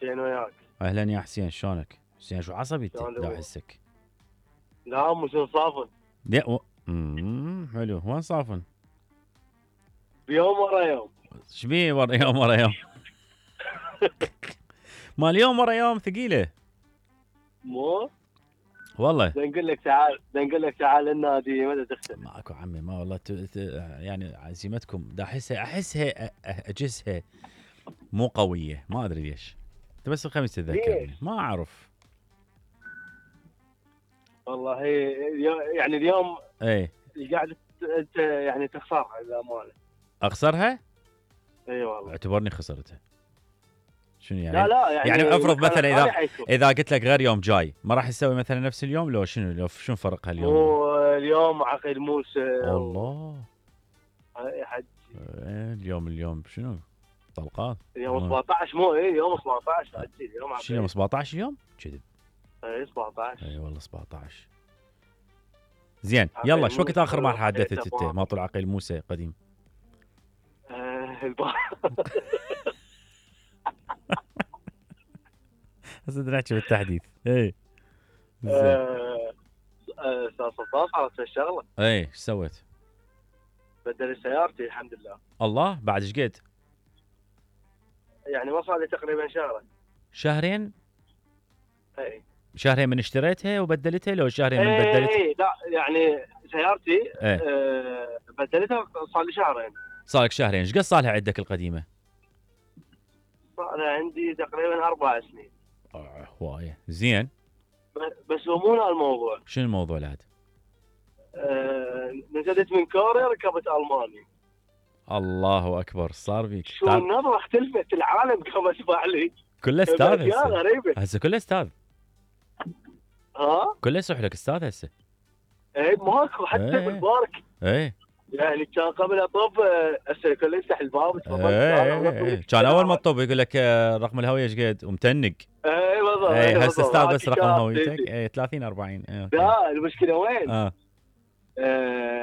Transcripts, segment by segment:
حسين وياك. اهلا يا حسين، شلونك؟ حسين شو عصبي انت؟ شلون دا الأمور؟ احسك. لا مو شنو صافن. حلو، وين صافن؟ بيوم ورا يوم. شبيه ورا يوم ورا يوم؟ مال يوم ورا يوم ثقيله. مو والله نقول لك تعال النادي متى تختم؟ ماكو عمي، ما والله يعني عزيمتكم دا احسها اجسها مو قويه، ما ادري ليش. انت بس الخميس تتذكرني، ما اعرف والله يعني اليوم ايه قاعد انت يعني تخسرها للامانه. اخسرها؟ اي والله اعتبرني خسرتها. شنو يعني؟ لا يعني افرض مثلا اذا قلت لك غير يوم جاي ما راح تسوي مثلا نفس اليوم، لو شنو فرقها اليوم؟ مو اليوم عقيل موسى الله يا حج. اليوم شنو؟ طلقات اليوم 17 مو يوم 17 عجيل اليوم. شنو يوم 17 اليوم؟ كذب. اي 17. اي والله 17. زين يلا، شو وقت اخر ما حدثت انت ما طلع عقيل موسى قديم؟ هسه نحكي بالتحديث. اي استاذ سلطان صارت الشغله. اي ايش سويت؟ بدل سيارتي الحمد لله. الله، بعد ايش قد؟ يعني ما صار لي تقريبا شهرين. اي شهرين من اشتريتها وبدلتها، لو شهرين من بدلتها؟ اي لا يعني سيارتي بدلتها صار لي شهرين. صار لك شهرين. ايش قد صار لها عندك القديمه؟ صار لها عندي تقريبا 4 سنين. هوايه. زين بس مو هنا الموضوع. شنو الموضوع لهذا؟ نزلت من كوريا ركبت الماني. الله اكبر، صار بيك شو النظره اختلفت، العالم قام اسمع لي. كله استاذ هسه غريبه. هسه كله استاذ. كله يصح لك استاذ هسه. اي ماكو حتى بالبارك. اي يعني كان قبل اطب هسه كله يفتح الباب تفضل. كان اول ما تطب يقول لك رقم الهويه ايش قد ومتنق. اي بالضبط. هسه استاذ بس رقم هويتك. اي 30 40. لا المشكله وين؟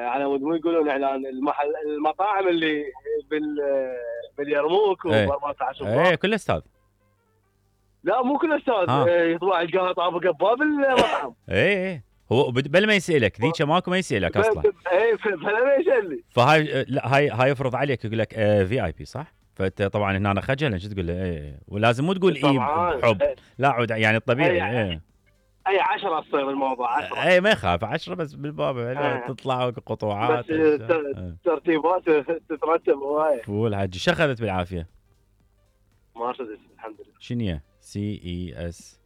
على مود يقولون اعلان المطاعم اللي باليرموك و14 اي كله استاذ. لا مو كل استاذ. يطلع يلقاها طابقه بباب المطعم. اي هو بل ما يسالك ذيك ماكو ما يسالك اصلا. اي بلا ما يسالني. فهاي لا هاي يفرض عليك يقول لك في اي بي صح؟ فانت طبعا هنا خجل شو تقول له؟ ولازم مو تقول بحب. لا عود يعني الطبيعي. اي 10 تصير الموضوع 10. اي ما يخاف 10 بس بالباب تطلع قطوعات. بس ترتيبات تترتب هوايه. فول حجي. شو اخذت بالعافيه؟ مرسيدس الحمد لله. شنو سي اي اس؟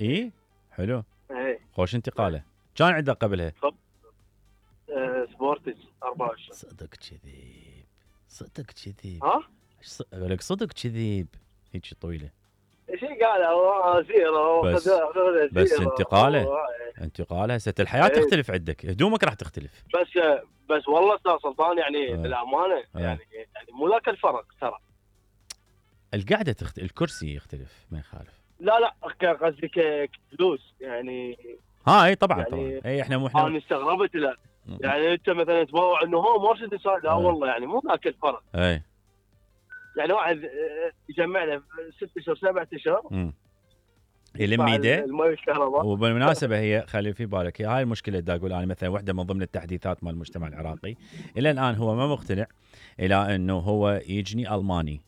اي حلو. اي خوش انتقاله. كان عندك قبلها؟ سبورتج 24. صدق كذيب. اقول لك صدق كذيب. هيك طويله. شيء قال زيرو بس انتقاله هسه الحياه تختلف عندك، هدومك راح تختلف. بس والله استاذ سلطان يعني بالامانه يعني مو ذاك الفرق ترى. القعده الكرسي يختلف ما يخالف. لا قصدي كفلوس يعني. اي طبعا يعني طبعا. اي احنا انا استغربت. لا يعني انت مثلا تبوع انه هو مرسيدس. لا والله يعني مو ذاك الفرق. اي يعني واحد يجمع له 6 اشهر 7 اشهر يلم ايده المي والكهرباء. وبالمناسبه هي خلي في بالك هاي المشكله دا اقول انا مثلا واحده من ضمن التحديثات مال المجتمع العراقي الى الان هو ما مقتنع الى انه هو يجني الماني،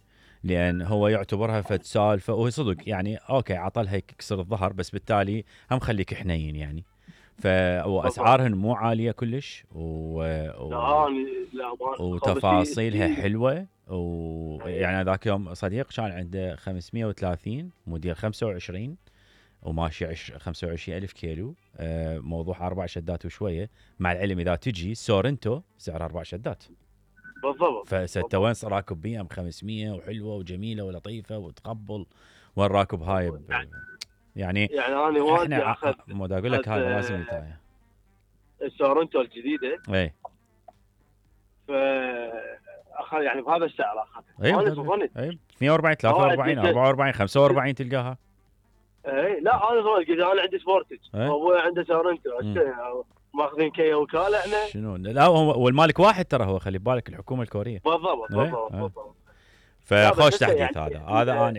لان هو يعتبرها فد سالفه. وهي صدق يعني اوكي عطلها يكسر الظهر، بس بالتالي هم خليك حنين يعني. واسعارهن مو عاليه كلش وتفاصيلها حلوه. ويعني ذاك يوم صديق كان عنده 530 موديل 25 وماشي 25,000 كيلو. موضوع 4 شدات وشويه، مع العلم اذا تجي سورنتو سعر 4 شدات بالضبط. فستة وين راكب بي ام 500 وحلوه وجميله ولطيفه وتقبل. وين راكب هاي يعني انا والدي احنا مو دا اقول لك هذا لازم يتايا السورنتو الجديده. اي اخذ يعني بهذا السعر اخذ. اي 42 43 44 45 تلقاها. اي لا انا ظننت انا عندي سبورتج وابوي عنده سورنتو ماخذين كيا وكاله احنا. شنو؟ لا هو والمالك واحد ترى، هو خلي بالك الحكومه الكوريه. بالضبط. فخوش تحديث هذا انا